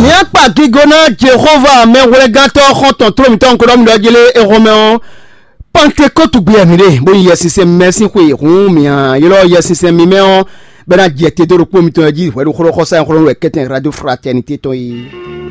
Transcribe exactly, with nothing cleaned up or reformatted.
Mǐ akpa gigo ná Jehova mɛhwlɛ́ngántɔ́ xɔ́ntɔn tló mǐtɔn nukɔn ɖɔ mǐ ɖɔ jélé exɔmɛ ɔ́, Pantekɔ́tu gbe wɛ mǐ ɖe, bó nyí Yɛsinsɛn mɛ sín xwe hǔn mǐ ylɔ́ Yɛsinsɛn mímɛ́ ɔ́, bɔ é ná jɛ te dó ɖokpó mitɔn jí hwɛ ɖo xlɔ́ xɔ́sá e xlɔ́ nú wɛ kɛ́tɛn Radio Fraternité tɔn é.